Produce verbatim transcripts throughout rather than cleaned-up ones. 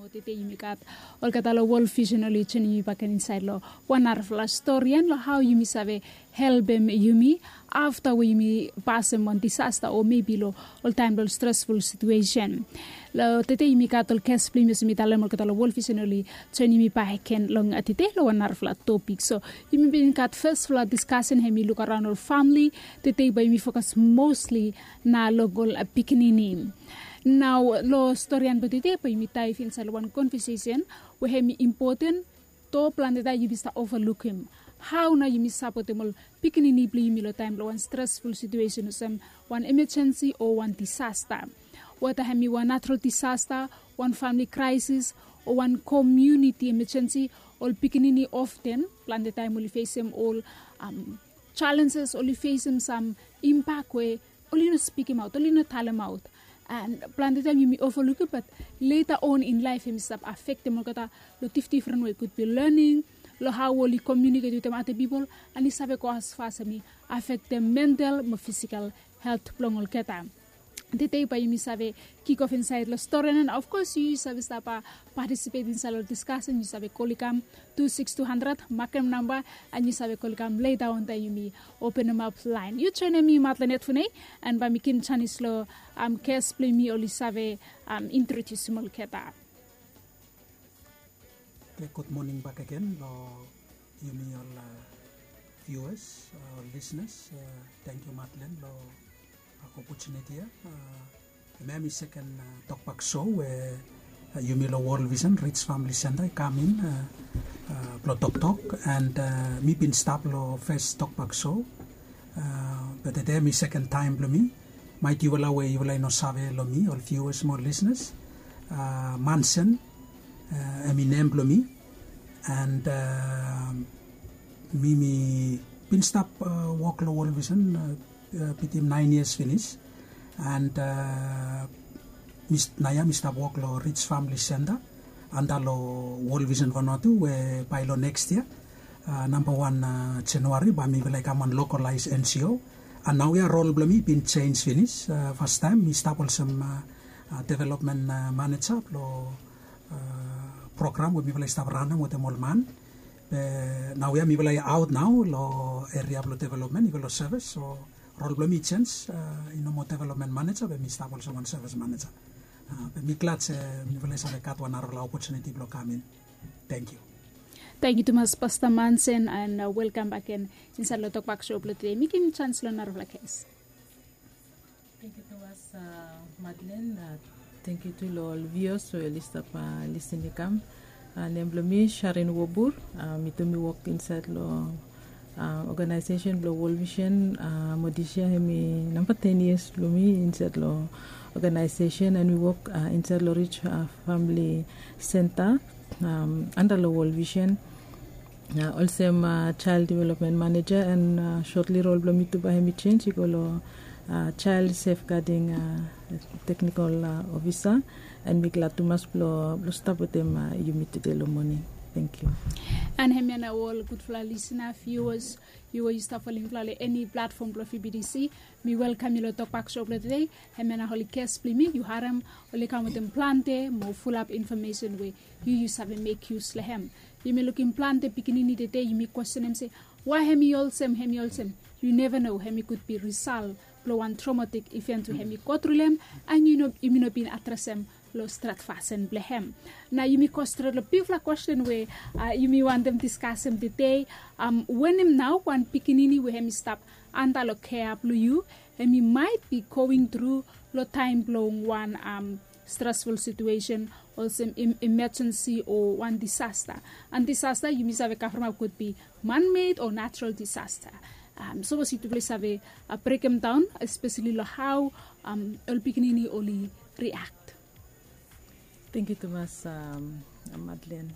Tede yumi gat olgeta long World Vision oli joinim yumi bakegen insaed long wan narafala stori ia long hao yumi save helpem yumi afta we yumi pasem wan disasta o mebi long ol taem long stresful situesen. Long tede yumi gat ol ges blong yumi olsem mi talem olgeta long World Vision oli joinim yumi bakegen long tede long wan narafala topik. So yumi bin gat fesfala diskasen hem i luk araon ol famili. Tede bae yumi fokas mosli na long ol pikinini. Nao long stori ia blong tede bae yumi daef insaed long wan konvesesen we hem i impoten. Do plante taem yumi stap ovalukim hao nao yumi sapotem ol pikinini blong yumi long taem blong wan stresful situesen olsem wan emejensi o wan disasta. Weta hem i wan natural disasta, wan famili kraesis, o wan komuniti emejensi, ol pikinini often plante taem oli fesem ol jalenjes, oli fesem sam impak we oli no spikemaot, oli no talemaot. An plante taem yumi ovalukim bat leta on in laef hem i stap afektem olgeta long difdifren we, kudbi lening, long hao oli komiuniket wetem ada pipol, an i save go asfas hem i afektem mental mo fisikal helt blong olgeta. Tede bae yumi save kikof insaed long stori ia, an ofkos yu yu save stap patisipet insaed long diskasen, yu save kol i kam tu siks tu handred, makem namba, an yu save kol i kam leta on taem yumi openemap laen. Yu joenem mi Matlenet Funei, an bae mi givim janis long ges blong yumi oli save introdiusim olgeta. Oke, gud moning bakegen long yumi ol viuas, ol lisnas. Tangkiu Matlen long opotuniti ia. Hemia hemi seken tokbak so we yumi long World Vision Rich Family Center i kam in blong toktok, an mi bin stap long fes tokbak so. Be tede hemi seken taem blong mi. Maet yufala we yufala i no save long mi, ol viuas mo ol lisnas, Mansen hemi nem blong mi. An mi mi bin stap wok long World Vision bitim naen yias finis. An naoia mi stap wok long Rich Family Center anda long World Vision Vanuatu, we bae long neks yia, namba wan Januari, bae mifala i kam wan lokolaes NGO. An naoia rol blong mi i bin jenis finis. Fastaem mi stap olsem developmen maneja blong program we mifala i stap ranem wetem ol man. Be naoia mifala i aot nao long eria blong developmen i go long sevis. So rol blong mi i jenis, i no moa developmen maneja, be mi stap olsem wan sevis maneja. Be mi glad se mifala i save gat wan narafala opotuniti blong kam in. Tangkiu. Tangkiu tumas Pasta Mansen, an welkam bakegen insaed long tokbak so blong tede. Mi givim janis long narafala ges. Tangkiu tumas Madlen. Tangkiu tu long ol viuas we oli stap lisin i kam. Nem blong mi Sharin Wobur. Mi tu mi wok insaed long oganaesesen blong World Vision. Mo disia hemi namba ten yias blong mi insaed long oganaesesen, an mi wok insaed long Rich Famili Senta anda long World Vision. Olsem jael developmen maneja, an sotli rol blong mi tu bae hemi jenis i go long jael sefgading teknikol ofisa. An mi glad tumas blong stap wetem yumi tede long moning. Tangkiu. An hemia nao ol gudfala lisna, viuas, yu we yu stap folem mifala long eni platfom blong VBTC, mi welkam yu long tokbak so blong tede. Hemia nao oli ges blong mi, yu harem, oli kam wetem plante mo fulap infomesen we yu yu save mek yus long hem. Yumi lukim plante pikinini tede, yumi kwestenem se wae hemi olsem, hemi olsem. Yu neva no, hemi kudbi risal blong wan tromatik iven we hemi gotru long hem, an yumi no bin adresem long stret fasin blong hem. Nao yumi go stret long bigfala kwesten we yumi wantem diskasem tede. Wanem nao wan pikinini we hemi stap anda long kea blong yu, hemi maet bi going tru long taem blong wan stresful situesen, olsem emejensi o wan disasta. An disasta yumi save kavremap kudbi manmed o natural disasta. Sapos yutufala i save brekemdaon espeseli long hao ol pikinini oli riak. Tangkiu tumas Madlen.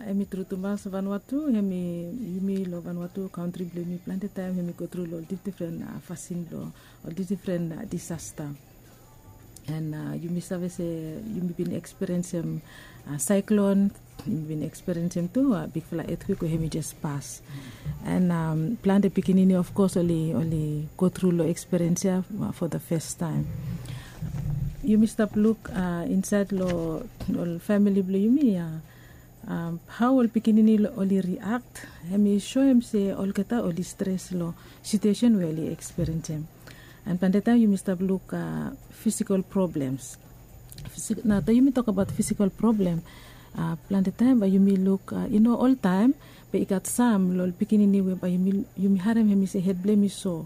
Hemi tru tumas, Vanuatu hemi, yumi long Vanuatu kantri blong yumi plante taem hemi gotru long ol difdifren fasin blong ol difdifren disasta. An yumi save se yumi bin ekspiriensem saeklon, yumi bin ekspiriensem tu bigfala etkwek we hemi jes pas. An plante pikinini ofkos oli, oli gotru long ekspiriens ia for the first time. Yumi stap luk insait long ol famili blong yumi ya, hao ol pikinini oli riakt, hem i soem se olgeta oli stres long situesen we oli ekspiriensim. And plante taem yumi stap luk fisikal problems. Na taem yumi tokabaot fisikal problem, plante taem bae yumi luk i no oltaem, be i gat sam long ol pikinini we bae yumi harem hem i se hed blong hem i so,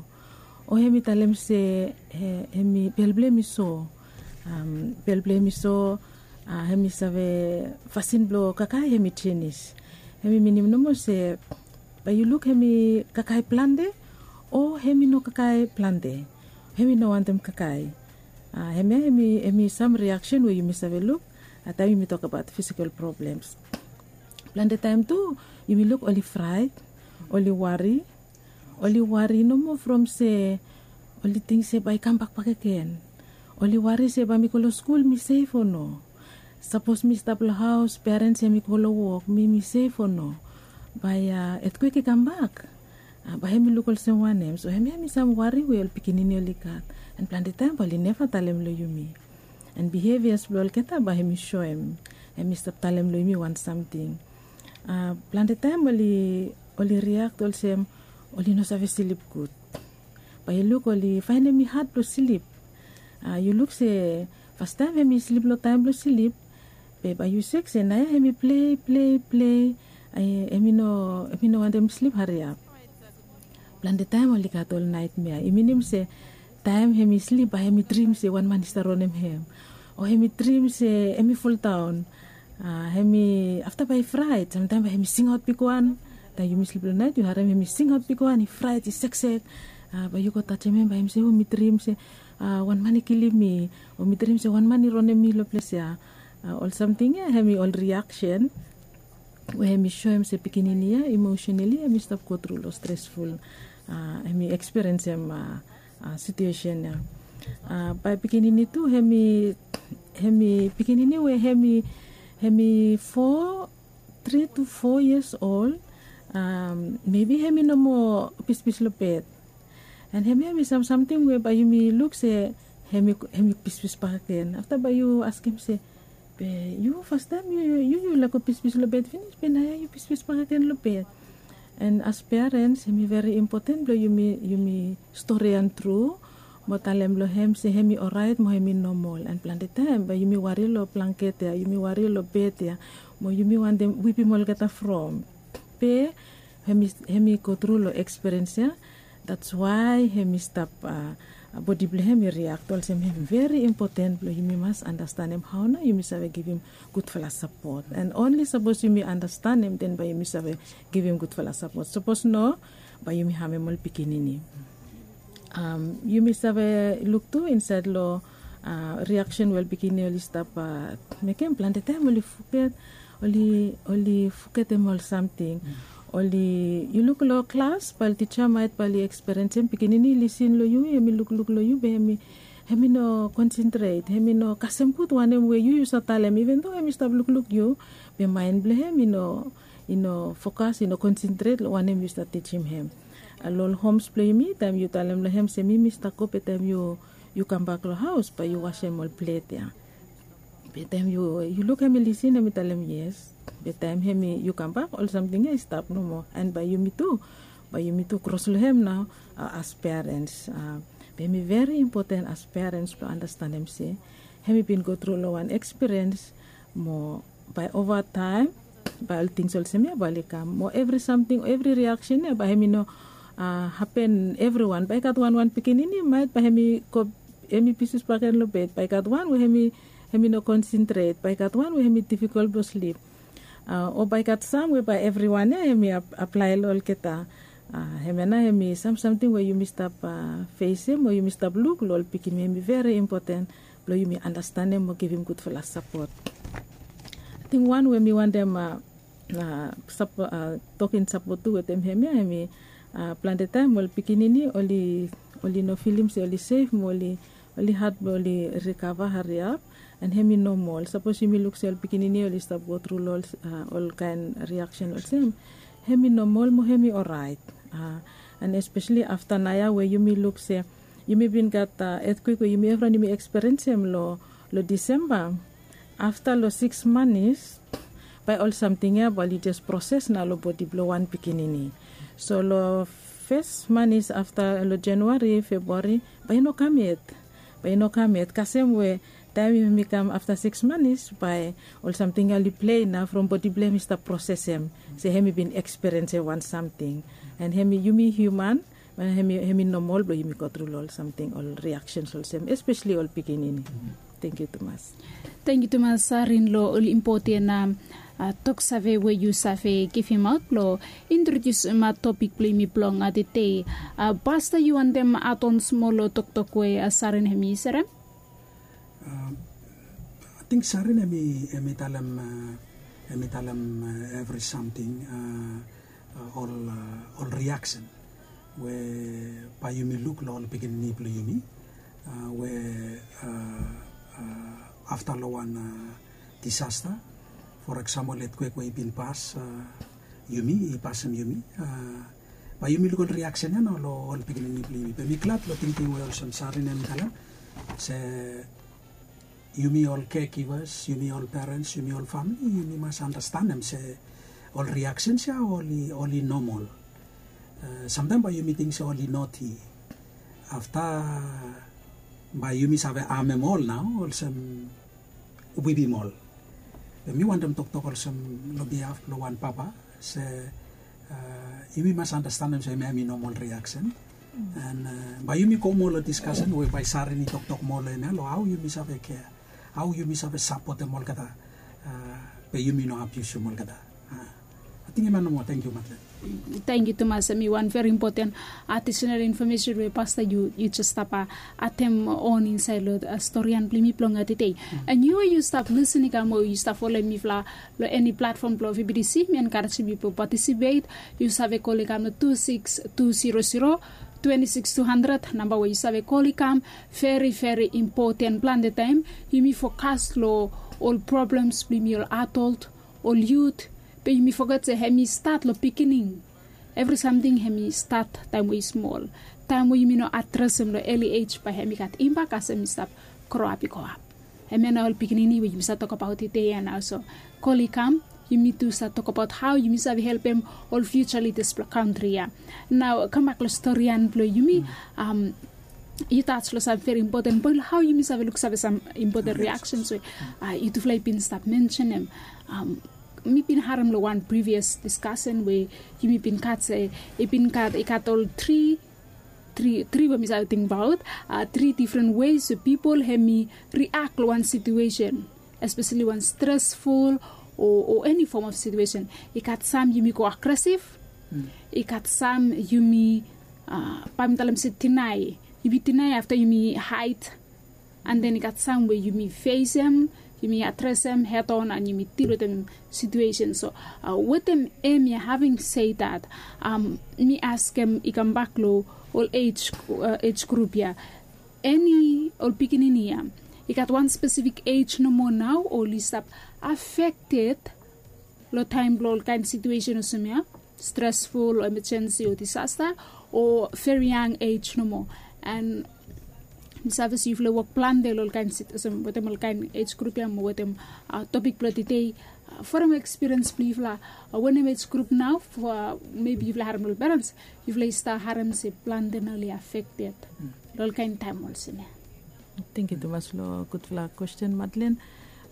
o hem i talem se hem i bel blong hem i so. Bel blong hem i so, hem i save fasin blong kakae hem i jenis. Hem i minim nomo se bae yu luk hem i kakae plante, o hem i no kakae plante, hem i no wantem kakae. Hemia hem i sam riaksen we yumi save luk taem yumi tokabaot fisikal problems. Plante taem tu yumi luk oli fraet, oli wari, oli wari nomo from se oli ting se bae i kambak bakegen. Oli wari se bae mi go long skul mi sef o no. Sapos mi stap long haos, perens hem i go long wok, mi mi sef o no. Bae etkwek i kambak, bae hem i luk olsem wanem? So hemia hem i sam wari we ol pikinini oli gat. And plante taem bae oli neva talem long yumi. And bihevias blong olgeta bae hem i soem, hem i stap talem long yumi wan samting. Plante taem oli riakt olsem oli no save slip gud. Bae yu luk oli faenem i had blong slip. Yu luk se fastaem hem i slip long taem blong slip, be bae yu sek se naoia hem i plei plei plei, hem i no wantem slip hariap. Plante taem oli gat ol naetmea, i minim se taem hem i slip bae hem i drim se wan man i stap ronem hem, o hem i drim se hem i foldaon. Hem i afta bae i fraet, samtaem bae hem i singaot bigwan. Taem yumi slip long naet yu harem hem i singaot bigwan, i fraet, i seksek. Bae yu go tajem hem, bae hem i se, o mi drim se wan man i kilim mi, o mi drim se wan man i ronem mi long ples ya. Ol samting ya hem i ol riaksen we hem i soem se pikinini ya emosenali hem i stap gotru long stresful, hem i ekspiriensim situesen ya. Bae pikinini tu hem i pikinini we hem i fo, tri tu fo yias ol, mebi hem i no moa pispis long bed. And hemia hem i sam samting we bae yumi luk se hem i pispis bakegen. Afta bae yu askem se, be yu fastaem yu yu laek go pispis long bed finis, be naoia yu pispis bakegen long bed. And as perens hem i veri impoten blong yumi storian tru mo talem long hem se hem i oraet mo hem i nomol. And plante taem bae yumi wari long blangket ya, yumi wari long bed ya, mo yumi wantem wipim olgeta from. Be hem i gotru long ekspiriens ya. That's why hem i stap, bodi blong hem i riakt olsem. Hem veri impoten blong yumi mas andastanem hao nao yumi save givim gudfala sapot. And onli sapos yumi andastanem, den bae yumi save givim gudfala sapot. Sapos no, bae yumi hamem ol pikinini. Yumi save luk tu insaed long riaksen we ol pikinini oli stap mekem, plante taem oli foget, oli fogetem ol samting. Oli yu luk long klas bae ol tija maet bae oli ekspiriensim pikinini i lisin long yu, hem i lukluk long yu, be hem i no konsentret, hem i no kasem gud wanem we yu yu save talem. Iven do hem i stap lukluk yu, be maen blong hem i no fokas, i no konsentret long wanem yu stap tijim hem. Long ol homs blong yumi, taem yu talem long hem se mi mi stap go, be taem yu kambak long haos bae yu wasem ol plet ya. Be taem yu luk hem i lisin, hem i talem yes. Be taem hem i yu kambak, ol samting ya i stap nomo. And bae yumi tu, bae yumi tu kros long hem nao as perens. Be hem i veri impoten as perens blong andastanem se hem i bin gotru long wan ekspiriens, mo bae ova taem bae ol tings olsem ya bae oli kam. Mo evri samting, evri riaksen ya bae hem i no hapen evriwan. Bae i gat wanwan pikinini maet bae hem i go, hem i pispis bakegen long bed. Bae i gat wan we hem i no konsentret. Bae i gat wan we hem i difikol blong slip. O bae i gat sam we bae evriwan ya hem i aplae long olgeta. Hemia nao hem i sam samting we yumi stap fesim o yumi stap luk long ol pikinini. Hem i veri impoten blong yumi andastanem o givim gudfala sapot. Ating wan we mi wantem tokin sapot tu wetem hemia, hem i plante taem ol pikinini oli no filim se oli sef mo oli had blong oli rikava hariap. And hem i nomol. Sapos yumi luk se ol pikinini oli stap gotru long olkaen riaksen olsem, hem i nomol mo hem i oraet. And espeseli afta naoia we yumi luk se yumi bin gat etkwek we yumi evriwan yumi ekspiriensim long Lo Disemba, afta lo siks manis, bae ol samting ya bae oli jes proses nao lo bodi blo wan pikinini. So lo fes manis afta lo Januari, Febuari, bae i no kam yet. Bae i no kam yet. Kasem we taem yumi kam afta siks manis, bae ol samting ya oli plei nao from bodi blo hem i stap prosesem se hem i bin ekspiriensim wan samting. And hem i, yumi hiuman, hemi hemi nomol blo yumi go tru lo ol samting, ol riaksens olsem, espeseli ol pikinini. Tangkiu tumas. Tangkiu tumas, Sarin, lo ol impoten toksave we yu save givimaot blo introdiusim topik blo yumi blong tede. Pasta, yu wantem adon smol lo toktok we Sarin hemi serem? Ating Sarin hemi hemi talem, hemi talem evri samting, ol ol riaksen we bae yumi luk lo ol pikinini blo yumi, we afta lo wan disasta, for eksambol etkwek we i bin pas yumi, i pasem yumi, bae yumi luk ol riaksen ya nao lo ol pikinini blo yumi. Be mi glad lo tingting we olsem Sarin hemi talem se yumi ol caregivers, yumi ol parents, yumi ol famili, yumi mas andastanem se ol riaksens ya oli oli nomol. Samtaem bae yumi ting se oli noti. Afta bae yumi save amem ol nao olsem wibim ol. Be mi wantem toktok olsem lo bihaf blo wan papa se yumi mas andastanem se hemia hemi nomol riaksen. And bae yumi go moa lo diskasen we bae Sarin i toktok moa lo hemia, lo hao yumi save kea, hao yumi save sapotem olgeta, be yumi no abiusim olgeta. Ating hemia nomo. Tangkiu, Madlen. Tangkiu tumas. Hemi wan veri impoten adisenal infomesen we pasta yu jes stap atem on insaed lo storian blo yumi blong tede. And yu we yu stap lisin i kam o yu stap folem mifala lo eni platfom blo V B T C, mi enkarejem yu blo patisipet. Yu save kol i kam lo tu siks tu zero zero twenti siks tu handred, namba we yu save kol i kam. Veri veri impoten. Plante taem yumi fokas lo ol problems blo yumi ol adol, ol yut, be yumi foget se hemi stat lo biginin. Evri samting hemi stat taem we i smol. Taem we yumi no adresem lo eli ej, bae hemi gat imbak kasem i stap groap i goap. Hemia nao ol pikinini we yumi save tokbaot tede ya nao. So kol i kam, yumi tu save tokbaot hao yumi save helpem ol fiuja lidas blo kantri ya. Nao kambak lo storian blo yumi, yu tas lo sam veri impoten poen lo hao yumi save luksave sam impoten riaksens we yutufala i bin stap mensenem. Mi bin harem lo wan privias diskasen we yumi bin gat se i bin gat, i gat ol tri, tri tri we mi save tingbaot, tri difren wes we pipol hemi riak lo wan situesen, espeseli wan stresful o eni fom of situesen. I gat sam yumi go agresif, i gat sam yumi, bae mi talem se dinae. Yumi dinae afta yumi haed. And then i gat sam we yumi fesem, yumi adresem hedon, and yumi dil wetem situesen. So wetem hemia, having said that, mi askem i kambak lo ol ej, ej grup ya. Eni ol pikinini ya, i gat wan spesifik ej nomo nao oli stap afekted lo taem blo ol kaen situesen olsem ya, stresful o emejensi o disasta, o veri yang ej nomo? And mi save se yufala i wok plante lo ol kaen sit olsem wetem ol kaen ej grup ya mo wetem topik blo tede, from ekspiriens blo yufala, wanem ej grup nao, mebi yufala harem lo ol perens, yufala i stap harem se plante nao oli afekted lo ol kaen taem olsem ya. Tangkiu tumas lo gudfala kwesten, Madlen.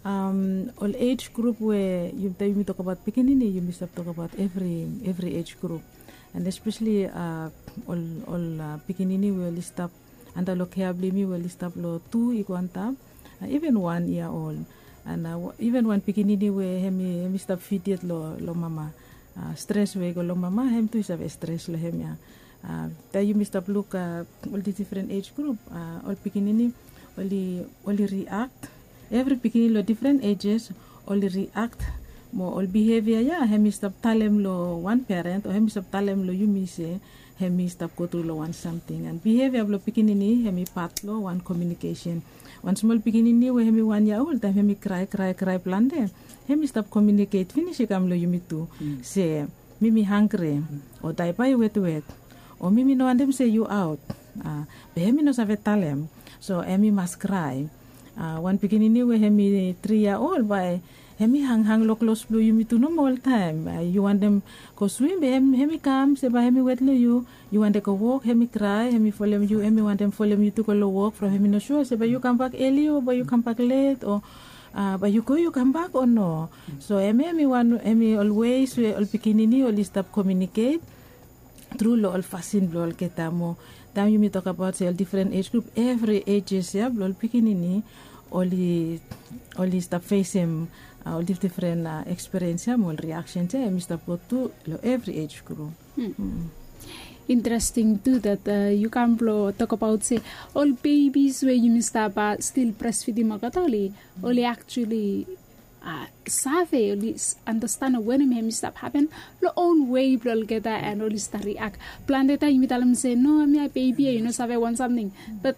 Ol ej grup we yumi tokbaot pikinini, yumi stap tokbaot evri evri ej grup. And espeseli ol ol pikinini we oli stap anda lo kea blo yumi we oli stap lo tu i go antap, iven wan yia ol. And iven wan pikinini we hemi hemi stap fid yet lo lo mama. Stres we i go lo mama, hem tu i save stres lo hemia. Taem yumi stap luk ol difren ej grup, ol pikinini oli oli riakt. Evri pikinini lo difren ejes oli riakt mo ol bihevia ya hemi stap talem lo wan peren o hemi stap talem lo yumi se hemi stap go tru lo wan samting. And bihevia blo pikinini hemi pat lo wan komiunikesen. Wan smol pikinini we hemi wan yia ol, taem hemi krae krae krae plante, hemi stap komiuniket finis i kam lo yumi tu se mi mi hanggri, o daepa i wetwet, o mi mi no wantem se yu aot. Be hemi no save talem. So hemi mas krae. Wan pikinini we hem i tri yia ol, bae hem i hanghang long klos blong yumi tu nomo oltaem. Yu wantem go swim, be hem i kam se bae hem i wet long yu. Yu wantem go wok, hem i krae, hem i folem yu, hem i wantem folem yu tu go long wok from hem i no sua se bae yu kambak eli o bae yu kambak let o bae yu go yu kambak o no. So hem ya hem i ol weis we ol pikinini oli stap komiuniket tru long ol fasin blong olgeta. Mo taem yumi tokabaot se ol difren ej grup, evri ejes ya blong ol pikinini oli oli stap fesem ol difdifren ekspiriens ya mo ol riaksens ya hem i stap go tu long evri ej grup. Interesting tu dat yu kam blong tokabaot se ol bebis we yumi stap stil bresfidim olgeta oli oli aktuali save oli anastan wanem hem i stap hapen long own wei blong olgeta, and oli stap riak. Plante taem yumi talem se no, hem ya bebi ya, yu no save wan samting. Bat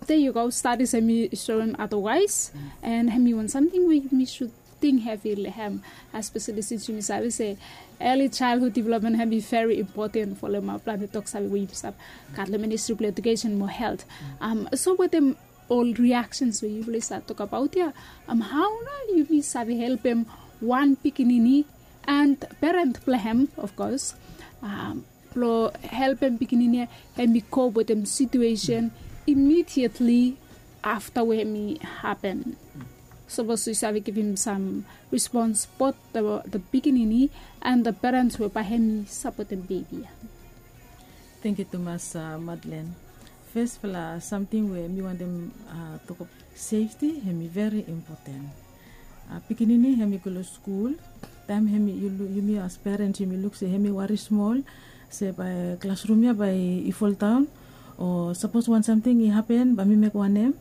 de yu go stadis hem i soem adawaes, and hem i wan samting we yumi sud ting hevi long hem, espeseli sins yumi save se eli chaelhud developmen hem i veri impoten folem plante tok save we yumi stap gat long ministri blong edukesen mo helt. So wetem ol riaksens we yufala i save tokabaot ya, hao nao yumi save helpem wan pikinini and peren blong hem, of kos, blong helpem pikinini ya hem i kop wetem situesen imidietli afta we hem i hapen? Sapos yu save givim sam rispons bot the pikinini and the peren we bae hem i sapotem bebi ya. Tengiu tumas, Madlen. Fesfala samting we mi wantem tokbaot, sefti hem i veri impoten. Pikinini hem i go long skul, taem hem i yumi as perens yumi luk se hem i wari smol se bae klasrum ya bae i foldaon, o sapos wan samting i hapen bae mi mek wanem?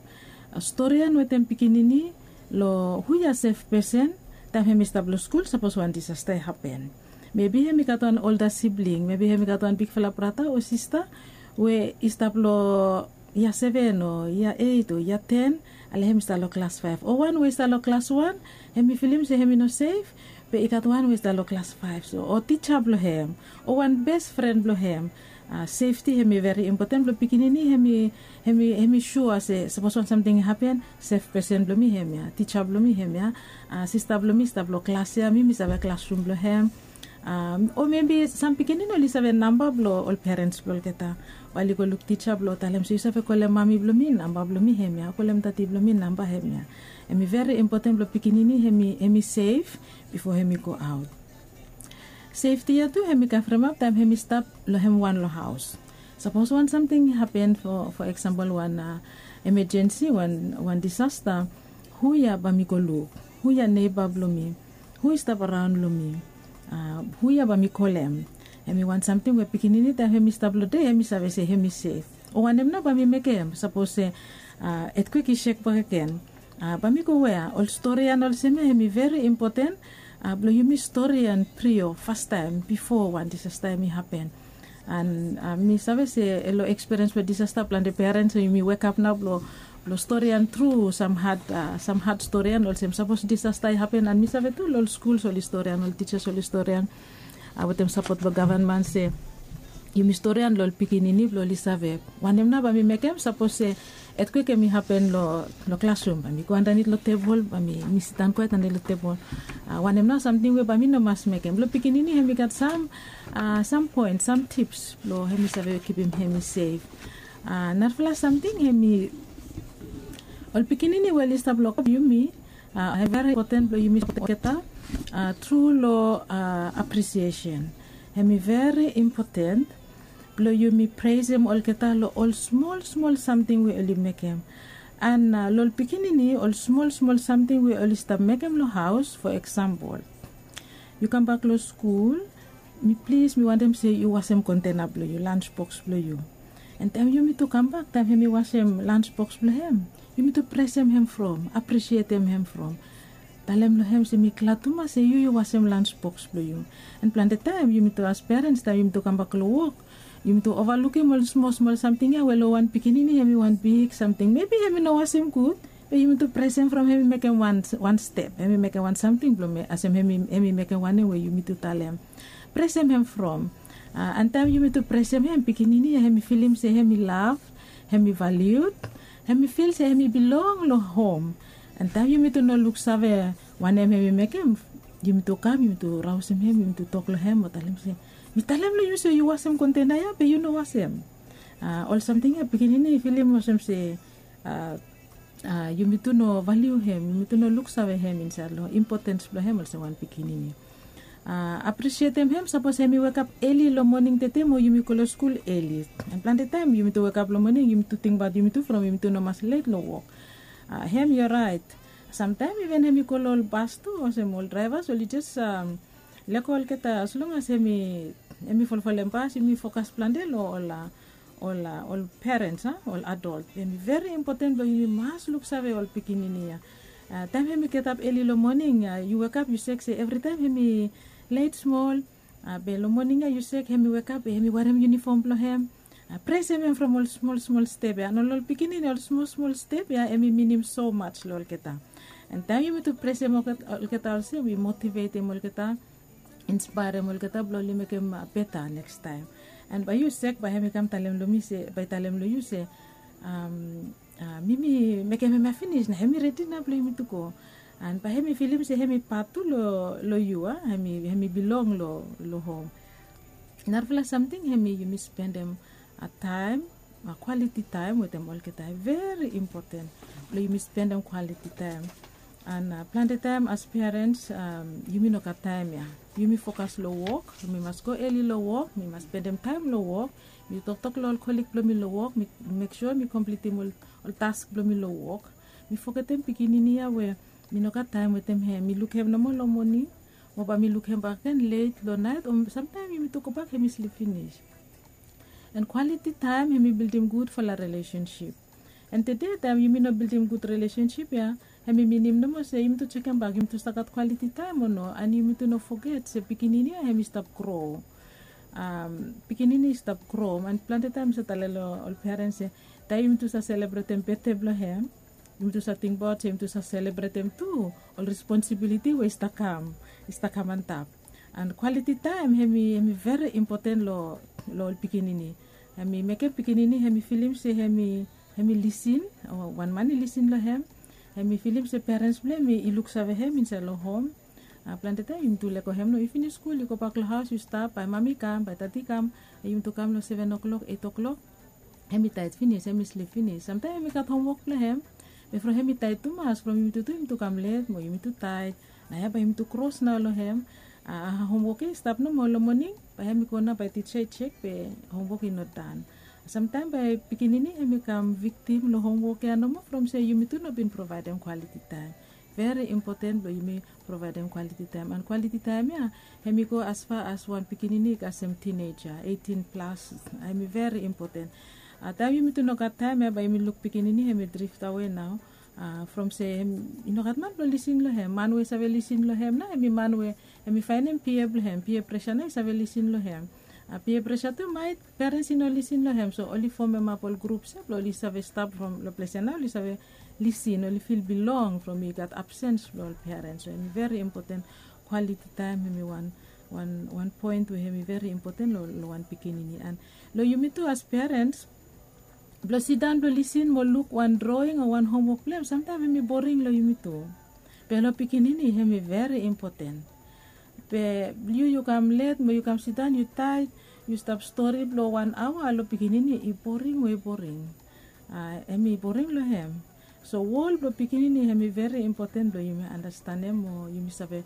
Storian wetem pikinini long hu ya sef pesen taem hem i stap long skul sapos wan disasta i hapen. Mebi hem i gat wan olda sibling, mebi hem i gat wan bigfala brata o sista we i stap long yia seven o yia eit o yia ten, ale hem i stap long klas faef, o wan we i stap long klas wan, hem i filim se hem i no sef, be i gat wan we i stap long klas faef so, o tija blong hem, o wan bes fren blong hem. Sefti hem i veri impoten blong pikinini hem i hem i sua se sapos wan samting i hapen, sef pesen blong mi hem ya, tija blong mi hem ya, sista blong mi i stap long klas ya, mi mi save klasrum blong hem. O mebi sam pikinini oli save namba blong ol perens blong olgeta, o oli go luk tija blong talem se yu save kolem mami blong mi, namba blong mi hem ya, kolem dadi blong mi, namba hem ya. Hem i veri impoten blong pikinini hem i sef bifo hem i go aot. Sefti ya tu hem i kavremap taem hem i stap long hem wan long haos. Sapos wan samting i hapen, fo eksampol wan emejensi, wan disasta, hu ya bae mi go luk? Hu ya neiba blong mi? Hu i stap araon long mi? Hu ya bae mi kolem? Hem i wan samting we pikinini taem hem i stap long de hem i save se hem i sef. O wanem nao bae mi mekem sapos se etkwik i sek bakegen? Bae mi go wea? Ol storian olsem ya hem i veri impoten blong yumi storian prio fastaem bifo wan disasta hem i hapen. And mi save se long ekspiriens blong disasta plante perens yumi wekap nao blong blong storian tru sam had, sam had storian olsem sapos disasta i hapen, and mi save tu long ol skuls oli storian, ol tijas oli storian wetem sapot blong gavenman se yumi storian long ol pikinini blong oli save. Wanem nao bae mi mekem sapos se etkwik hem i hapen long klasrum? Bae mi go andanit long tebol, bae mi sidaon kwaet andanit long tebol? Wanem nao samting we bae mi no mas mekem? Blong pikinini hem i gat sam sam poen, sam tips blong hem i save kipim hem i sef. Narafala samting hem i ol pikinini we oli stap long yumi, hem i veri impoten blong yumi sapot olgeta tru long apresiesen. Hem i veri impoten blong yumi presem olgeta long ol smol smol samting we oli mekem. And long ol pikinini ol smol smol samting we oli stap mekem long haos, fo eksampol, yu kambak long skul, mi plis mi wantem se yu wasem kontena blong yu, lansboks blong yu. And taem yumitu kambak, taem hem i wasem lansboks blong hem, yumitu presem hem from, apresietem hem from, talem long hem se mi glad tumas se yu yu wasem lansboks blong yu. And plante taem yumitu as perens taem yumitu kambak long wok, yumitu ovalukim ol smol smol samting ya we long wan pikinini hem i wan big samting, mebi hem i no wasem gud, be yumitu presem from hem i mekem wan step, hem i mekem wan samting blong me asem hem i mekem wanem we yumitu talem. Presem hem from. And taem yumitu presem hem, pikinini ya hem i filim se hem i lav, hem i valiud. Hem i fil se hem i bilong long hom. An taem yumi tu no luksave wanem hem i mekem, yumi tu kam, yumi tu raosem hem, yumi tu tok long hem mo talem se, mi talem long yu se yu wasem kontena ya be yu no wasem. Ol samting ya pikinini i filim olsem se yumi tu no valiu hem, yumi tu no luksave hem insaed long impotens blong hem olsem wan pikinini. Apresietem hem sapos hem i wekap eli long moning tete mo yumi go long skul eli. An plante taem yumi tu wekap long moning yumi tu tingbaot yumi tu from yumi tu no mas let long wok. Hem yu raet. Samtaem iven hem i go long ol bas tu olsem ol draevas oli jes lego olgeta as long as hem i folfolem bas yumi fokas plante long ol ol perens a ol adol. Hem i veri impoten blong yumi mas luksave ol pikinini ya. Taem hem i getap eli long moning yu wekap yu sek se evritaem hem i let smol. Be long moning ya yu sek hem i wekap be hem i warem yunifom blong hem. Presem hem from ol smol smol step ya an ol ol pikinini ol smol smol step ya hem i minim so mats long olgeta. An taem yumi tu presem olgeta olsem i motivetem olgeta, inspaerem olgeta blong oli mekem beta nekstaem. An bae yu sek bae hem i kam talem long mi se bae i talem long yu se mi mi mekem hem ya finis na hem i redi nao blong yumi tu go. An bae hem i filim se hem i pat tu long yu a hem i bilong long hom. Narafala samting hem i yumi spendem taem, kwaliti taem wetem olgeta i veri impoten blong yumi spendem kwaliti taem. An plante taem as perens yumi no gat taem ya. Yumi fokas long wok, mi mas go eli long wok, mi mas spendem taem long wok. Mi toktok long ol kolik blong mi long wok, mi mek sua mi komplitim ol task blong mi long wok. Mi fogetem pikinini ya we mi no gat taem wetem hem, mi luk hem nomo long moning mo bae mi luk hem bak gen let long naet o samtaem yumi tu gobak hem i slip finis. An kwaliti taem hem i bildim gudfala relesensip. An tede taem yumi no bildim gud relesensip ya, hem i minim nomo se yumi tu jekem bak yumi tu save gat kwaliti taem o no an yumi tu no foget se pikinini ya hem i stap gro. Pikinini i stap gro an plante taem mi save talem long ol perens se taem yumi tu save selebretem betde blong hem, yumi tu save tingbaot se yumi tu save selebretem tu ol responsibiliti we i stap kam i stap kam antap. An kwaliti taem hem i veri impoten long ol pikinini. Hem i mekem pikinini hem i filim se hem i lisin o wan man i lisin long hem. Hem i filim se perens blong hem i luksave hem insaed long hom. Plante taem yumi tu lego hem no yu finis skul yu gobak long haos yu stap bae mami i kam bae tati i kam. Yumi tu kam long seven o'klok eit o'klok hem i taet finis hem i slip finis samtaem hem i gat homwok blong hem. Be from hem i taet tumas from yumi tu tu yumi tu kam let mo yumi tu taet. Na ya bae yumi tu kros nao long hem. Homwok ya i stap nomo long moning bae hem i go nao bae tija i jek be homwok i no dan. Samtaem bae pikinini hem i kam viktim long homwok ya nomo from se yumi tu no bin provaedem kwaliti taem. Veri impoten blong yumi provaedem kwaliti taem an kwaliti taem ya hem i go asfa as wan pikinini i kasem tineja eitin plas. Hem i veri impoten. Taem yumi tu no gat taem ya bae yumi luk pikinini hem i driftawe nao from se hem i no gat man blong lisin long hem man we i save lisin long hem nao hem i man we hem i faenem pia blong hem pia presa nao i save lisin long hem. Pia presa tu maet perens i no lisin long hem so oli fomemap ol grups ya blong oli save stap from long ples ya nao oli save lisin oli fil bilong from i gat absens blong ol perens so hem i veri impoten. Kwaliti taem hem i wan wan poen we hem i veri impoten long wan pikinini an long yumi tu as perens blong sidaon blong lisin mo luk wan droing o wan homwok blong hem samtaem hem i boring long yumi tu. Be long pikinini hem i veri impoten. Be yu yu kam let mo yu kam sidaon yu taet yu stap stori blong wan aoa long pikinini i boring we i boring. Hem i boring long hem. So wol blong pikinini hem i veri impoten blong yumi anastenem o yumi save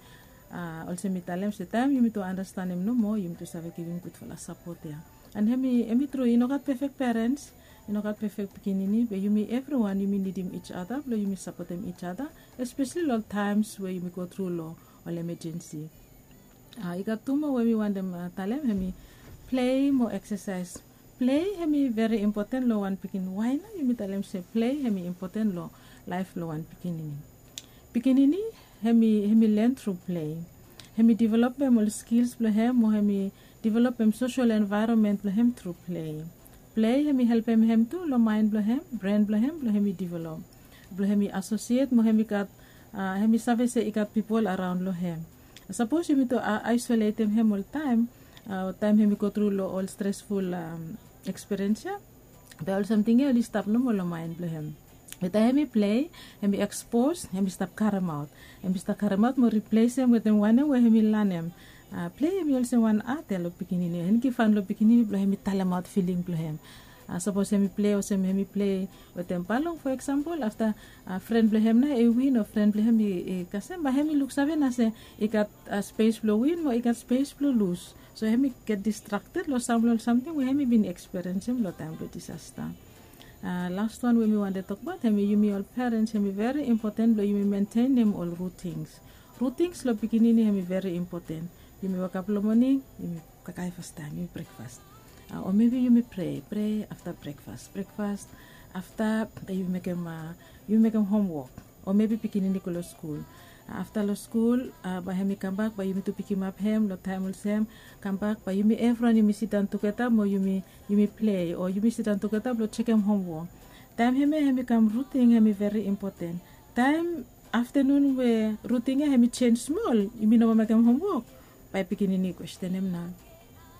olsem mi talem se taem yumi tu anastenem nomo yumi tu save givim gudfala sapot ya. An hem i tru i no gat pefek perens, i no gat pefek pikinini be yumi evriwan yumi nidim ij ada blong yumi sapotem ij ada. Espesli long taems we yumi go tru long ol emejensi. I gat tu moa we mi wantem talem hem i plei mo eksasaes. Plei hem i veri impoten long wan pikinini wae nao yumi talem se plei hem i impoten long laef blong wan pikinini. Pikinini hem i len tru plei. Hem i developem ol skils blong hem mo hem i developem sosol envaeronmen blong hem tru plei. Plei hem i helpem hem tu long maen blong hem bren blong hem blong hem i develop blong hem i asosiet mo hem i gat hem i save se i gat pipol araon long hem. Sapos yumi tu aisoletem hem oltaem taem hem i go tru long ol stresful eksperens ya, be ol samting ya oli stap nomo long maen blong hem. Weta hemi plei, hemi ekspos, hemi stap karemaot. Hemi stap karemaot mo riplesem wetem wanem we hemi lanem. Plei hemi olsem wan art ya long pikinini. Hemi givhan long pikinini blong hemi talemaot filing blong hem. Sapos hemi plei olsem hemi plei wetem balong, fo eksampol, afta fren blong hem nao i win o fren blong hem i kasem, bae hemi luksave nao se i gat spes blong win mo i gat spes blong lus. So hemi get distrakted long sam long ol samting we hemi bin ekspiriensem long taem blong disasta. Las wan we mi wantem tokbaot hemi yumi ol perens, hemi veri impoten blong yumi mentenem ol rutins. Rutins long pikinini hemi veri impoten. Yumi wokap long moning, yumi kakae fastaem, yumi brekfas. O mebi yumi pre, pre afta brekfas, brekfas afta yumi mekem, yumi mekem homwok. O mebi pikinini i go long skul. Afta long skul bae hemi kambak, bae yumi tu pikimap hem long taem olsem. Kambak bae yumi evriwan yumi sidaon tugeta mo yumi, yumi plei o yumi sidaon tugeta blong jekem homwok. Taem hemia hemi kam rutin, hemi veri impoten. Taem aftanun we rutin ya hemi jenj smol, yumi no moa mekem homwok, bae pikinini i kwestenem nao,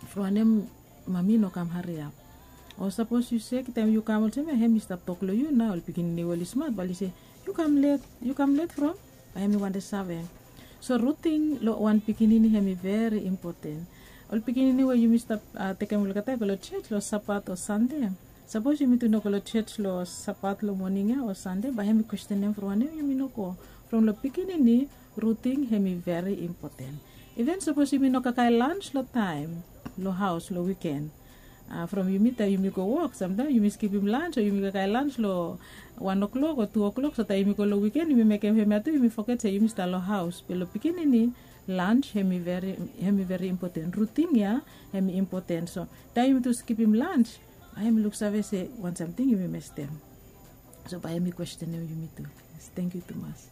from wanem mami no kam hariap? O sapos yu sek taem yu kam olsem ya, hemi stap tok long yu nao, ol pikinini we oli smat bae oli se, yu kam let, yu kam let from? Bae hemi wantem save. So rutin long wan pikinini hemi veri impoten. Ol pikinini we yumi stap tekem olgeta i go long joj long Sabat o Sande. Sapos yumi tu no go long joj long Sabat long moning ya o Sande, bae hemi kwestenem from wanem yumi no go. From long pikinini, rutin hemi veri impoten. Iven sapos yumi no kakae lans long taem long haos long wiken. From yumi taem yumi go wok, samtaem yumi skipim lans o yumi kakae lans long wan o'clock o tu o'clock, so taem yumi go long wiken yumi mekem hemia tu, yumi foget se yumi stap long haos. Be long pikinini, lans hemi veri, hemi veri impoten. Rutin ya hemi impoten. So taem yumi tu skipim lans, bae hemi luksave se wan samting yumi mestem. So bae hemi kwestenem yumi tu. Yes, tangkiu tumas.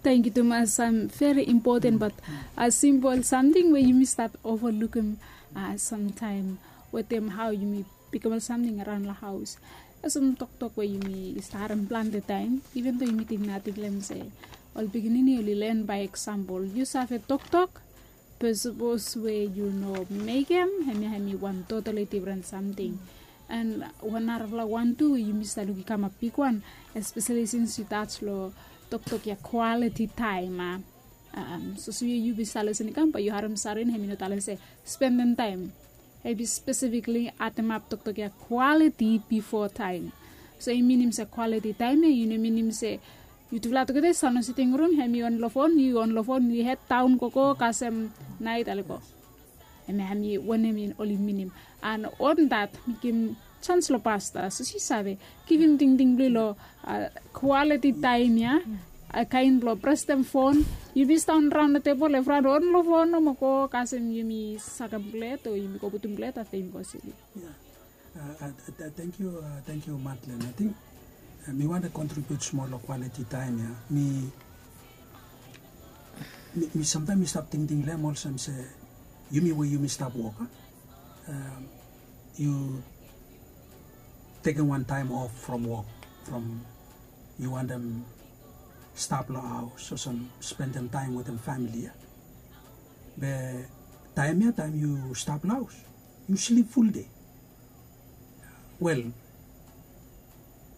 Tangkiu tumas. Veri impoten, bat simpol samting we yumi stap ovalukim samtaem wetem hao yumi pikim ol samting araon long haos. Olsem toktok we yumi stap harem plante taem, iven do yumi ting nating long hem se ol pikinini oli len bae eksampol. Yu save toktok, be sapos we yu no mekem, hemia hemi wan totali difren samting. An wan narafala wan tu we yumi stap luk i kamap bigwan, espeseli sins yu taj long toktok ya kwaliti taem, a. Sapos yu, yu bin stap lisen i kam, bae yu harem Sarin hemi no talem se spendem taem. Hemi spesifikli ademap toktok ya kwaliti bifo taem. So i minim se kwaliti taem ya i no minim se yutufala tugeta i stap long siting rum, hemi on long fon, yu on long fon, yu hed daon gogo kasem naet ale go. Hemia hemi wanem oli minim. An on dat mi givim jans long pasta, sapos yu save givim tingting blong yu long kwaliti taem ya, kaen blong prestem fon. Yu bin sidaon raon long tebol, evriwan on long fon nomo, go kasem yumi sakem blet o yumi go putum blet afta yumi go slip. Tangkiu, tangkiu Madlen. Ating mi wantem kontribiut smol long kwaliti taem ya. Mi, mi samtaem mi stap tingting long hem olsem se yumi we yumi stap wok, a, yu tekem wan taem of from wok, from yu wantem stap long haos olsem spendem taem wetem famili ya. Be taem ya taem yu stap long haos, yu slip fuldei. Wel,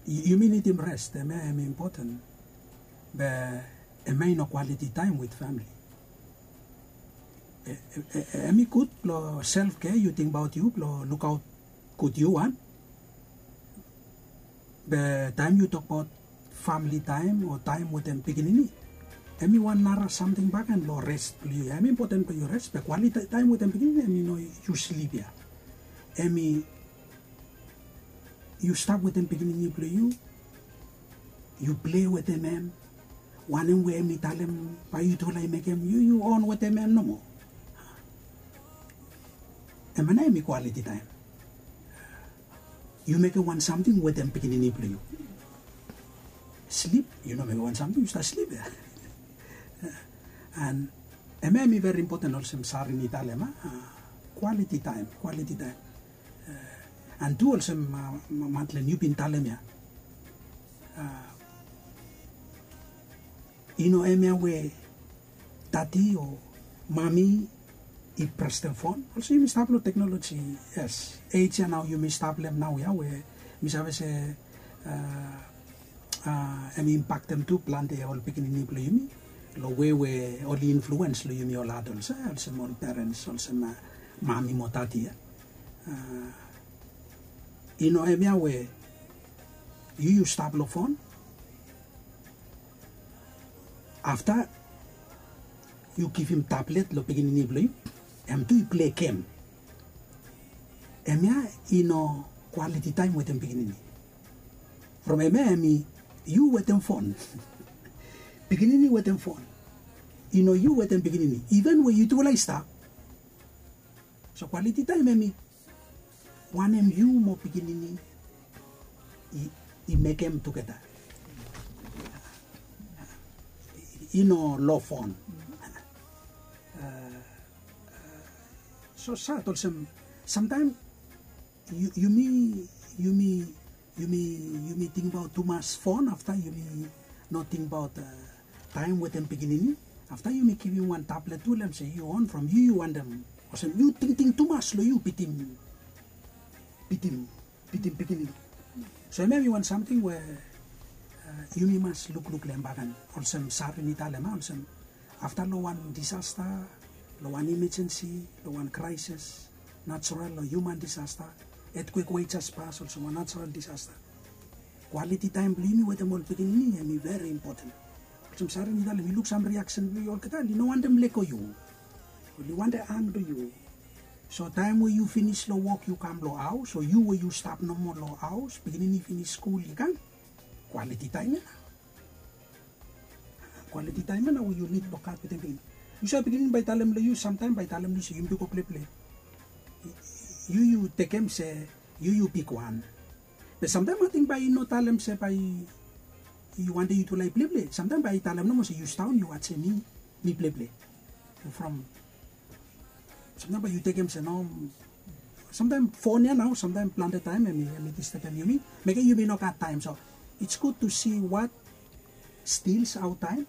yumi nidim res, hemia hemi impoten. Be hemia i no kwaliti taem wit famili. Hemi gud blong self kea, yu tingbaot yu blong lukaot gud yu wan. Be taem yu tokbaot famili taem o taem wetem pikinini, hemi wan nara samting bakegen long res blong yu. Hemi impoten blong yu res, be kwaliti taem wetem pikinini hemi no yu slip ya. Hemi yu stap wetem pikinini blong yu, yu plei wetem hem, wanem we hemi talem bae yutufala i mekem, yu, yu on wetem hem nomo. Hemia nao hemi kwaliti taem. Yu mekem wan samting wetem pikinini blong yu. Slip, yu no mekem wan samting, yu stap slip ya. An hemia hemi veri impoten olsem Sarin i talem, a, kwaliti taem, kwaliti taem. An tu olsem Madlen yu bin talem ya, a, i no hemia we dadi o mami i prestem fon. Olsem yumi stap long teknoloji, yes. Ej ya nao yumi stap long hem naoia we mi save se, a, Em i impaktem tu plante ol pikinini blong yumi long we we oli influens long yumi ol adols, olsem ol perens, olsem mami mo dadi ya. I no hemia we yu yu stap long fon, afta yu givim tablet long pikinini blong yu, em tu i plei gem. Hemia i no kwaliti taem wetem pikinini. From hemia em i yu wetem fon, pikinini wetem fon. I no yu wetem pikinini, iven we yutufala i stap. So kwaliti taem em i wanem yu mo pikinini i mekem tugeta. I no long fon. So sad olsem samtaem yumi yumi yumi yumi tingbaot tumas fon, afta yumi no tingbaot taem wetem pikinini. Afta yumi givim wan tablet tu long em se yu on from yu yu wantem olsem yu tingting tumas long yu bitim bitim bitim pikinini. So em em i wan samting we yumi mas lukluk long em bagen. Olsem Sarin i talem a olsem afta long wan disasta, long wan imejensi, long wan kraisis, natural o hiuman disasta, etkwek we i jes pas olsem wan natural disasta, kwaliti taem blong yumi wetem ol pikinini em i veri impoten. Olsem Sarin i talem i luk sam riaksen blong yu olgeta oli no wantem lego yu, oli wantem ang long yu. So taem we yu finis long wok yu kam long haos o yu we yu stap nomo long haos, pikinini i finis skul i kam, kwaliti taem ya nao. Kwaliti taem ya nao we yu nid blong gat wetem pikinini. Yu save pikinini bae i talem long yu samtaem bae i talem long yu se yumi tu go pleple. Yu yu tekem se yu yu bigwan. Be samtaem ating bae i no talem se bae i wantem yutufala i pleple. Samtaem bae i talem nomo se yu sidaon yu wajem mi mi pleple. From samtaem bae yu tekem se no, samtaem fon ya nao samtaem plante taem em i distebem yumi, mekem yumi no gat taem. So it's good to see what steals our time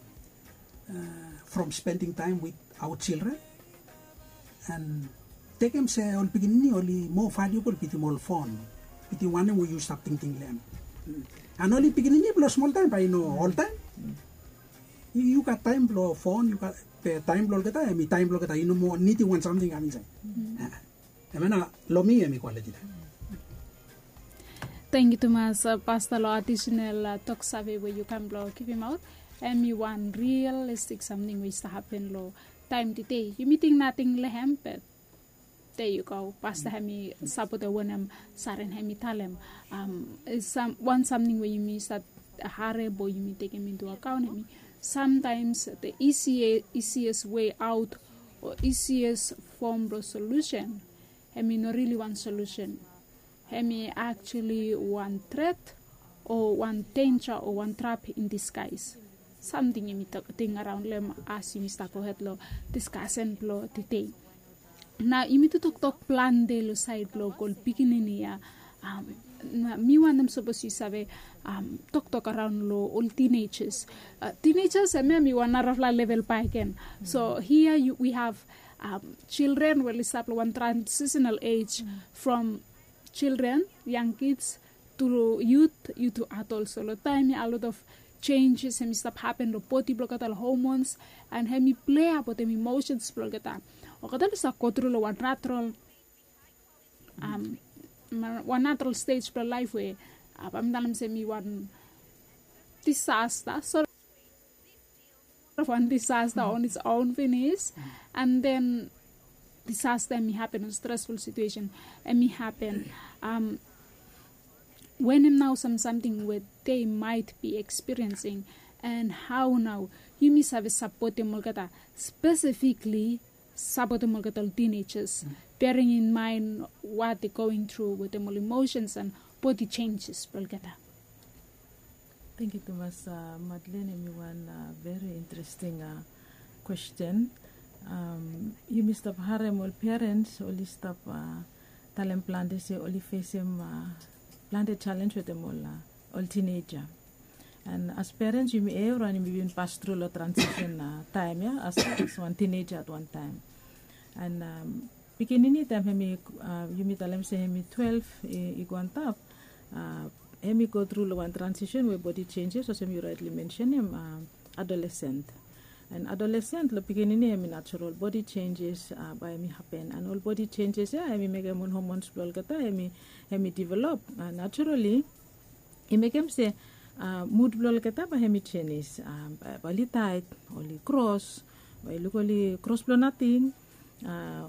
from spending time with our children. And tekem se ol pikinini oli moa valiubol bitim ol fon, bitim wanem we yu stap tingting long em. And oli pikinini blong smoltaem bae i no oltaem. Yu gat taem blong fon, yu gat, be taem blong olgeta em i taem blong olgeta, i no moa nidim wan samting i kam insaed. Em ya nao long mi em i kwaliti taem. Tangkiu tumas pasta long adisenal toksave we yu kam blong givimaot. Em i wan rialistik samting we i stap hapen long taem tede. Yumi ting nating long em, be there you go, pasta hem i sapotem wanem Saren hem i talem. Wan samting we yumi stat harem o yumi tekem into akaon hem i sometimes the easiest way out o easiest form blong solution hem i no rili wan solution. Hem i actually wan tret o wan denja o wan trap in disguise. Samting yumi ting araon long em as yumi stap gohed long diskasen blong tede. Nao yumi tu toktok plante long saed blong ol pikinini ya. Mi wantem sapos yu save toktok araon long ol tinejas. Tinejas em ya mi wan narafala level bakegen. So hia we have children we oli stap long wan transitional age from children, young kids, tu yut, yut tu adol. So long taem ya a lot of changes hem i stap hapen long bodi blong olgeta, long hormones, and hem i plea wetem emotions blong olgeta. Olgeta oli stap go tru long wan natural wan natural stej blong laef we bae mi talem se hem i wan disasta. So of wan disasta on its own finis. And then disasta hem i hapen, wan stresful situesen hem i hapen. Wanem nao sam samting we they might be experiencing, and hao nao yumi save sapotem olgeta, spesifikli sapotem olgeta ol tinejas, bearing in mind what they going through wetem ol emotions and bodi chenjes blong olgeta. Tangkiu tumas Madlen, hem i wan veri interesting kwesten. Yumi stap harem ol perens oli stap talem plante se oli fesem plante jalenj wetem ol tineja. And as perens yumi evriwan yumi bin pas tru long transisen taem ya as wan tineja at wan taem. And pikinini taem hem i, yumi talem se hem i twelef i go antap, hem i go tru long wan transisen we bodi senjes olsem yu raetli mensenem, adolesent. And adolesent long pikinini hem i natural bodi senjes, bae hem i hapen, and ol bodi senjes ya hem i mekem ol homons blong olgeta hem i develop naturali. I mekem se mud blong olgeta bae hem i senis, bae oli taet, oli kros, bae yu luk oli kros blong nating,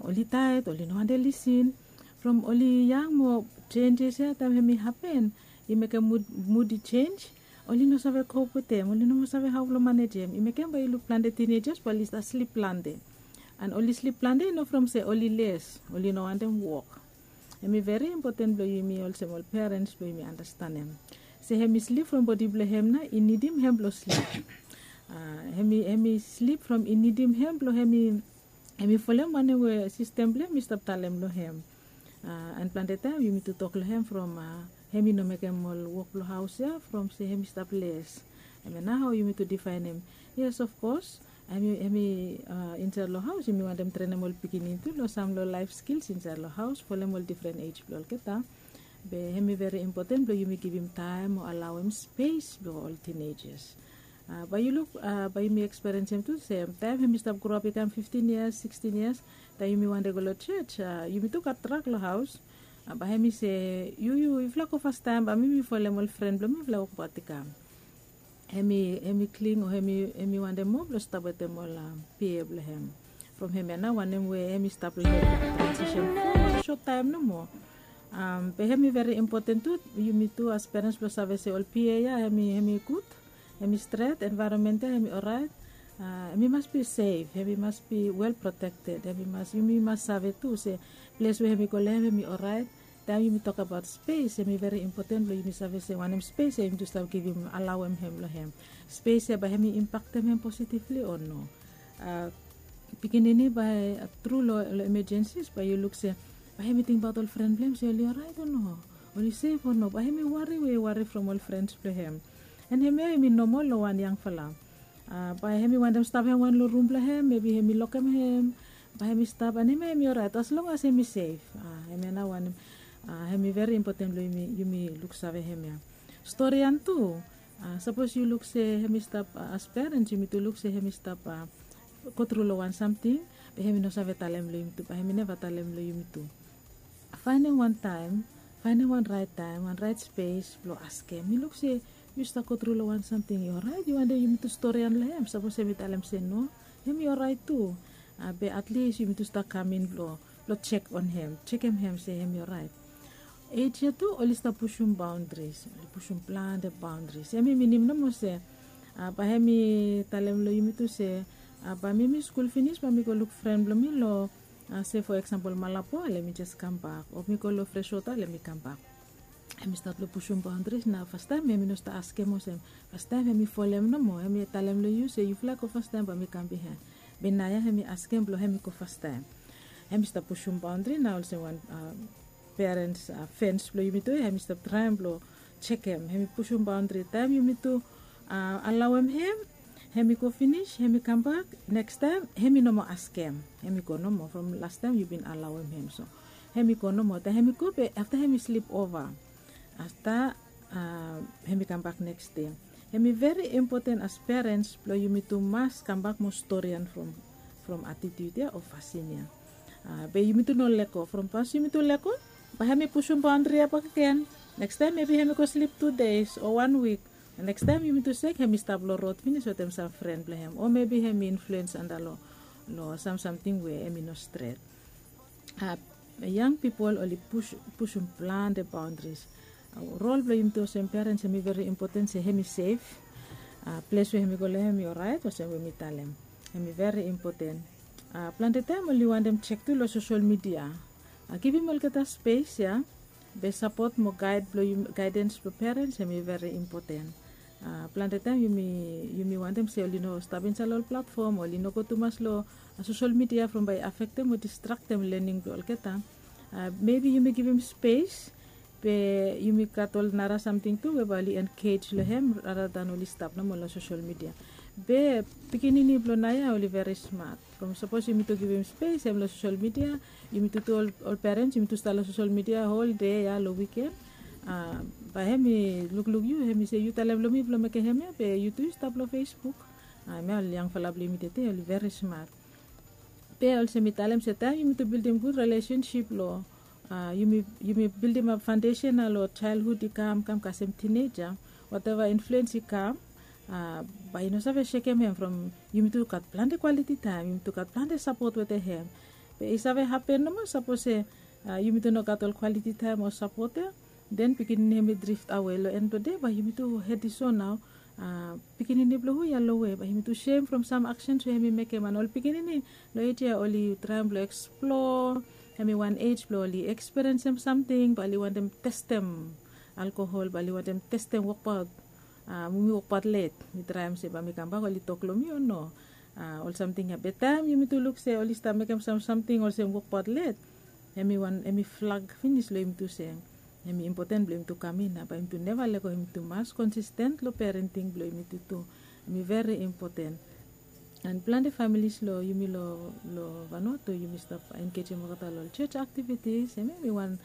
oli taet, oli no wantem lisin. From oli yang mo senjes ya taem hem i hapen, i mekem mud i senj. Oli no save kop wetem, oli no moa save hao blong manejem. I mekem bae yu luk plante tinejas bae oli stap slip plante. And oli slip plante i no from se oli les, oli no wantem wok. Hem i veri impoten blong yumi olsem ol perens blong yumi anastenem se hem i slip from bodi blong hem nao i nidim hem blong slip. Hem i slip from i nidim hem blong hem i folem wanem we sistem blong hem i stap talem long hem. And plante taem yumi tu tok long hem from hem i no mekem ol wok blong haos ya from se hem i stap les. Hem ya nao hao yumi tu difaenem. Yes, of kos, hem i insaed long haos yumi wantem trenem ol pikinini tu long sam long laef skils insaed long haos folem ol difren ej blong olgeta. Be hem i veri impoten blong yumi givim taem o alaoem spes blong ol tinejas. Bae yu luk, bae yumi eksperiensem tu se taem hem i stap groap i kam fiftin yias, sikstin yias, taem yumi wantem go long joj, yumi tu gat drak long haos. Bae hem i se, yu yu yufala go fastaem bae mi mi folem ol fren blong mi yufala wokbaot i kam. Hem i kling o hem i wantem moa blong stap wetem ol pia blong hem. From hem ya nao wanem we hem i stap long hem transisen fo sot taem nomo. Be hem i veri impoten tu yumi tu as perens blong save se ol pia ya hem i gud, hem i stret, envaeronmen ya hem i oraet. Hem i mas bi sef, hem i mas bi wel protekted, hem i mas yumi mas save tu se ples we hem i go long hem hem i oraet. Taem yumi tokabaot spes hem i veri impoten blong yumi save se wanem spes ya yumi tu stap givim alaoem hem long hem. Spes ya bae hem i impaktem hem positivli o no. Pikinini bae tru long emejensis bae yu luk se bae hem i tingbaot ol fren blong hem se oli oraet o no, oli sef o no, bae hem i wari we i wari from ol frens blong hem. And hem ya hem i nomol long wan yangfala. Bae hem i wantem stap hem wan long rum blong hem, mebi hem i lokem hem, bae hem i stap and hem ya hem i oraet as long as hem i sef. Hem ya nao wanem hem i veri impoten blong yumi luksave hem ya. Storian tu, sapos yu luk se hem i stap, as perens yumi tu luk se hem i stap go tru long wan samting, be hem i no save talem long yumi tu, bae hem i neva talem long yumi tu. Faenem wan taem, faenem wan raet taem, wan raet spes blong askem. Yu luk se yu stap go tru long wan samting i oraet, yu wantem yumi tu storian long hem. Sapos hem i talem se no, hem i oraet tu. Be atlis yumi tu stap kam in blong blong jek on hem, jekem hem se hem i oraet. Ej ya tu oli stap pusum baondris, oli pusum plante baondris. Hem i minim nomo se bae hem i talem long yumi tu se bae mi mi skul finis bae mi go luk fren blong mi long, se fo eksampol, Malabo, let mi jes kambak, o mi go long Freswota, let mi kambak. Hem i stat long pusum baondris. Nao fastaem hem i no stap askem olsem, fastaem hem i folem nomo, hem i talem long yu se yufala go fastaem bae mi kam bihaen. Be naoia hem i askem blong hem i go fastaem. Hem i stap pusum baondri nao olsem wan perens fens blong yumi tu ya hem i stap traem blong jekem, hem i pusum baondri taem yumi tu alaoem hem, hem i go finis hem i kambak, nekstaem hem i no moa askem, hem i go nomo from lastaem yu bin alaoem hem. So hem i go nomo, taem hem i go be afta hem i slip ova. Afta hem i kambak neks dei. Hem i veri impoten as perens blong yumi tu mas kambak mo storian from atitiut ya o fasin ya. Be yumi tu no lego, from pas yumi tu lego, bae hem i pusum baondri ya bakegen. Nekstaem mebi hem i go slip tu deis o wan wik. Nekstaem yumi tu sek hem i stap long rod finis wetem sam fren blong hem, o mebi hem i influens antap long sam samting we hem i no stret. Yang pipol oli pusum plante baondris. Rol blong yumi tu olsem perens hem i veri impoten se hem i sef. Ples we hem i go long hem i oraet olsem we mi talem, hem i veri impoten. Plante taem oli wantem jek tu long sosol midia. Givim olgeta spes ya. Be sapot mo gaed blong yumi, gaedens blong perens hem i veri impoten. Plante taem yumi wantem se oli no stap insaed long ol platfom, oli no go tumas long sosol midia from bae i afektem o distraktem lening blong olgeta. Mebi yumi givim spes, be yumi gat ol nara samting tu we bae oli enkej long hem rara dan oli stap nomo long sosol midia. Be pikinini blong naoia oli veri smat. From sapos yumi tu givim spes hem long sosol midia, yumi tu tu ol perens yumi tu stap long sosol midia hol dei ya long wiken. Bae hem i lukluk yu, hem i se yu talem long mi blong mekem hemia, be yu tu yu stap long Facebook. Hemia ol yangfala blong yumi tete oli veri smat. Be olsem mi talem se taem yumi tu bildim gud relesensip long, yumi bildim ap faondesen ya long jaelhud i kam kam kasem tineja, wateva influens i kam, bae i no save sekem hem from yumi tu gat plante kwaliti taem, yumi tu gat plante sapot wetem hem. Be i save hapen nomo sapos se yumi tu no gat ol kwaliti taem o sapot ya, den pikinini hem i drift awe long en blong de, bae yumi tu hedi so nao, pikinini blong hu ya lowe, bae yumi tu sem from sam aksens we hem i mekem. An ol pikinini long ej ya oli traem blong eksplor, hem i wan ej blong oli ekspiriensem samting, bae oli wantem testem alkohol, bae oli wantem testem wokbaot, mi wokbaot let, mi traem se bae mi kambak oli tok long mi o no. Ol samting ya be taem yumi tu luk se oli stap mekem sam samting olsem wokbaot let, hem i wan hem i flag finis long yumi tu se hem i impoten blong yumi tu kam in, bae yumi tu neva lego, yumi tu mas konsisten long perenting blong yumi tu tu. Hem i veri impoten. An plante familis long yumi long Vanuatu yumi stap engejem olgeta long ol jos aktivitis, hem i wan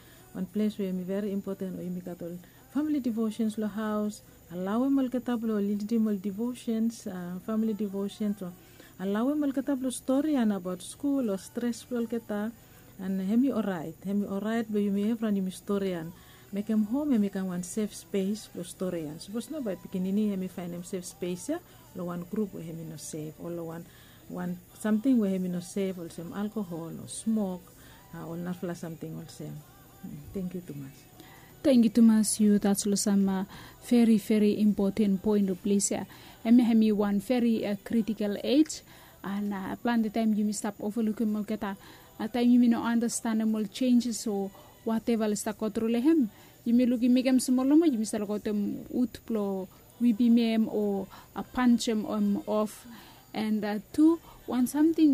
ples we hem i veri impoten, o yumi gat ol famili divosens long haos. Alaoem olgeta blong lidim ol divosens, famili divosens, o alaoem olgeta blong storian abaot skul o stres blong olgeta. An hem i oraet, hem i oraet blong yumi evriwan yumi storian. Mekem hom hem i kam wan sef spes blong storian. Sapos no bae pikinini hem i faenem sef spes ya long wan grup we hem i no sef, o long wan samting we hem i no sef, olsem alkohol o smok, ol narafala samting olsem. Tangkiu tumas. Tangkiu tumas yu tas long sam veri veri impoten poen long ples ya. Hemia hem i wan veri kritikel ej. An plante taem yumi stap ovalukim olgeta taem yumi no andastanem ol jenjes o wateva oli stap gotru long hem. Yumi lukim mekem smol nomo yumi stap lukaotem wud blong wipim hem o panjem hem of. An tu wan samting